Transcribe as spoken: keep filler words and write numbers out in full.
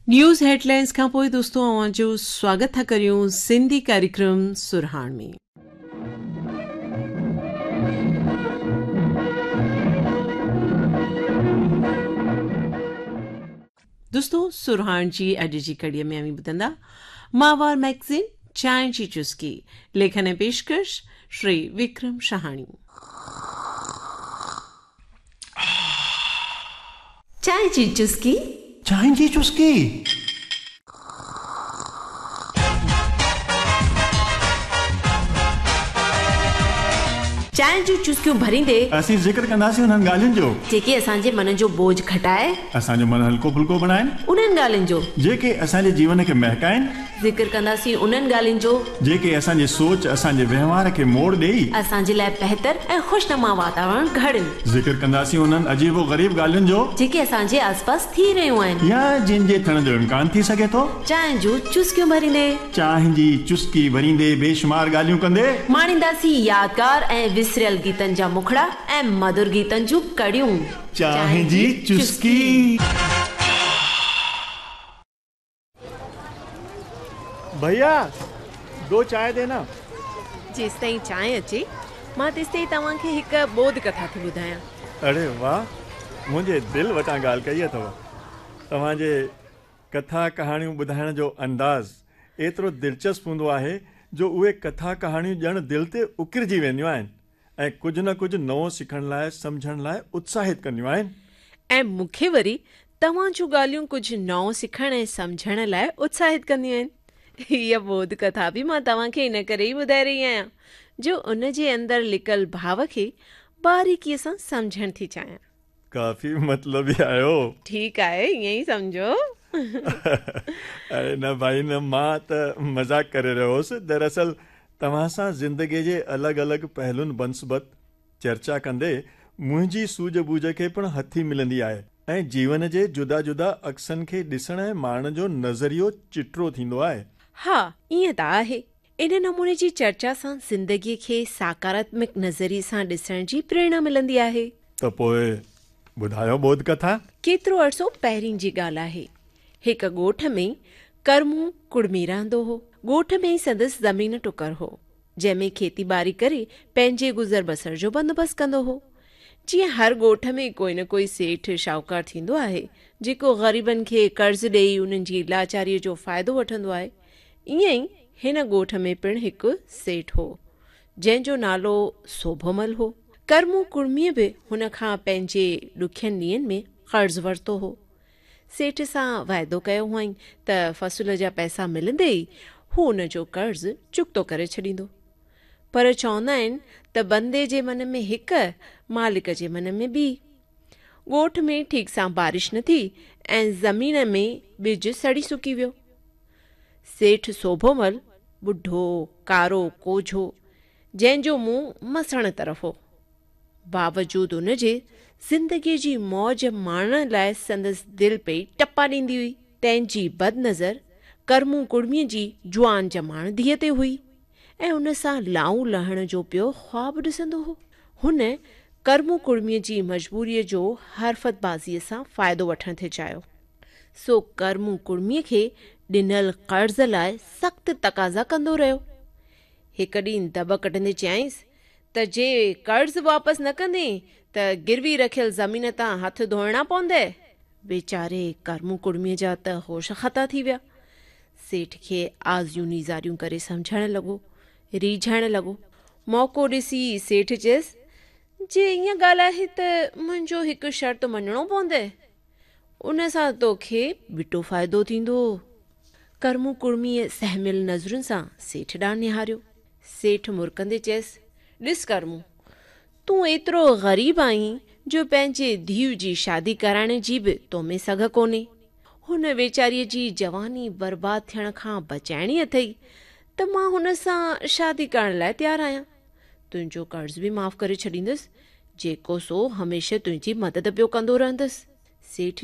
News headlines खां पोइ दोस्तो अव्हां जो स्वागत था करियूं सिंधी कार्यक्रम सुरहाण में। दोस्तो सुरहाण जी अॼु जी कड़ीअ में अव्हीं ॿुधंदा माहवार मैगज़ीन चांहि जी चुस्की, लेखन ऐं पेशकश श्री विक्रम शहाणी। चांहि जी चुस्की, चांहि जी चुस्की। चांहि जूं चुस्कियूं भरींदे असीं ज़िक्र कंदासीं उन्हनि ॻाल्हियुनि जो जेके असांजे मन जो बोझ घटाए, असांजो मन हल्को फुल्को बणाइनि, उन्हनि ॻाल्हियुनि जो जेके असांजे जीवन खे महकाइनि। ज़िक्र कंदासीं उन्हनि ॻाल्हियुनि जो जेके असांजी सोच, असांजे वहिंवार खे मोड़ ॾेई असांजे लाइ बहितर ऐं ख़ुशनुमा वातावरण घड़नि। ज़िक्र कंदासीं उन्हनि अजीब ग़रीब ॻाल्हियुनि जो जेके असांजे आसपास थी रहियूं आहिनि या जिन जे थियण जो इम्कान थी सघे थो। चांहि जूं चुस्कियूं भरींदे, चांहि जी चुस्की भरींदे बेशुमार ॻाल्हियूं कंदे माणींदासीं यादगार ऐं विसरियल गीतनि जा मुखड़ा ऐं मधुर गीतनि जूं कड़ियूं। चांहि जी चुस्की। भैया दो चाय देना। जेसिताईं चांहि अचे मां तेसिताईं तव्हांखे हिकु बोध कथा थी ॿुधायां। अरे वाह, मुंहिंजे दिलि वटां ॻाल्हि कई अथव। तव्हांजे कथा कहाणियूं ॿुधाइण जो अंदाज़ एतिरो दिलचस्प हूंदो आहे जो उहे कथा कहाणियूं ॼण दिलि ते उकिरजी वेंदियूं आहिनि ऐं कुझु न कुझु नओं सिखण लाइ, सम्झण लाइ उत्साहित कंदियूं आहिनि। ऐं मूंखे वरी तव्हां जूं ॻाल्हियूं कुझु नओं सिखण ऐं सम्झण लाइ उत्साहित कंदियूं आहिनि। हीअ बोध कथा बि मां तव्हांखे इन करे ई ॿुधाए रही आहियां जो उन जे अंदरि लिकल भाव खे बारीकीअ सां सम्झण थी चाहियां। काफ़ी मतलबी आहियो। ठीकु आहे, ईअं ई सम्झो। अरे न भाई न, मां त मज़ाक करे रहियो हुउसि। दरअसल तव्हां सां ज़िंदगीअ जे अलॻि अलॻि पहलुनि बनस्बत चर्चा कंदे मुंहिंजी सूझ बूझ खे पिणु हथी मिलंदी आहे ऐं जीवन जे जुदा जुदा अक्सनि खे ॾिसण ऐं माणण जो नज़रियो चिटरो थींदो आहे। हा, ईअं त आहे। इन नमूने जी चर्चा सां ज़िंदगीअ खे सकारात्मक नज़रिए सां ॾिसण जी प्रेरणा मिलंदी आहे। त पोइ ॿुधायो बोध कथा। केतिरो अरसो पहिरीं जी ॻाल्हि आहे, हिकु ॻोठ में करमू कुड़मी रहंदो हो। ॻोठ में ई संदसि ज़मीन टुकर हो, जंहिंमें खेती ॿारी करे पंहिंजे गुज़र बसर जो बंदोबस्तु कंदो हो। जीअं हर ॻोठ में कोई न कोई सेठ शाहूकार थींदो आहे जेको ग़रीबनि खे कर्ज़ ॾेई उन्हनि जी लाचारीअ जो फ़ाइदो वठंदो आहे, ईअं ई हिन ॻोठ में पिणु हिकु सेठ हो जंहिंजो नालो सोभोमल हो। करमू कुड़मीअ बि हुन खां पंहिंजे ॾुखियनि ॾींहंनि में क़र्ज़ वरितो हो। सेठ सां वाइदो कयो हुआईं त फ़सल जा पैसा मिलंदे ई हू उन जो कर्ज़ चुकतो करे छॾींदो। पर चवंदा आहिनि त बंदे जे मन में हिकु, मालिक जे मन में ॿी। ॻोठ में ठीकु सां बारिश न थी ऐं ज़मीन में ॿिज सड़ी सुकी वियो। सेठ सोभोमल ॿुढो, कारो, कोझो, जंहिंजो मुंहुं मसण तरफ़ हो, बावजूद उन जे ज़िंदगीअ जी मौज माणण लाइ संदसि दिलि पई टपा ॾींदी हुई। तंहिंजी बदनज़र करमू कुड़मीअ जी जुआन जमाण धीअ ते हुई ऐं उन सां लाऊं लहण जो पियो ख़्वाब ॾिसंदो हो। हुन करमू कुड़मीअ जी मजबूरीअ जो हरफ़तबाज़ीअ सां फ़ाइदो वठण थी चाहियो, सो करमू कुड़मीअ खे ॾिनल क़र्ज़ लाइ सख़्तु तक़ाज़ा कंदो रहियो। हिकु ॾींहुं दब कढंदे चयाईंसि त जे कर्ज़ वापसि न कंदे त गिरवी रखियल ज़मीन तां हथु धोइणा पवंदे। वेचारे करमू कुड़मीअ जा त होश ख़ता थी विया। सेठ खे आज़ियूं नीज़ारियूं करे सम्झण लॻो, रीझाइण लॻो। मौक़ो ॾिसी सेठ चयसि, जे ईअं ॻाल्हि आहे त मुंहिंजो हिकु शर्त मञणो पवंदे, उन सां तोखे ॿिटो फ़ाइदो थींदो। करमू कुड़मीअ सहमियल नज़रुनि सां सेठ ॾांहुं निहारियो। सेठ मुरकंदे चयसि, ॾिस करमू, तूं एतिरो ग़रीब आहीं जो पंहिंजे धीउ जी शादी कराइण जी बि तो में सघ कोन्हे। हुन वेचारीअ जी जवानी बर्बाद थियण खां बचाइणी अथई त मां हुन सां शादी करण लाइ तयारु आहियां। तुंहिंजो कर्ज़ बि माफ़ करे छॾींदुसि, जेको सो हमेशह तुंहिंजी मदद पियो कंदो रहंदुसि। सेठ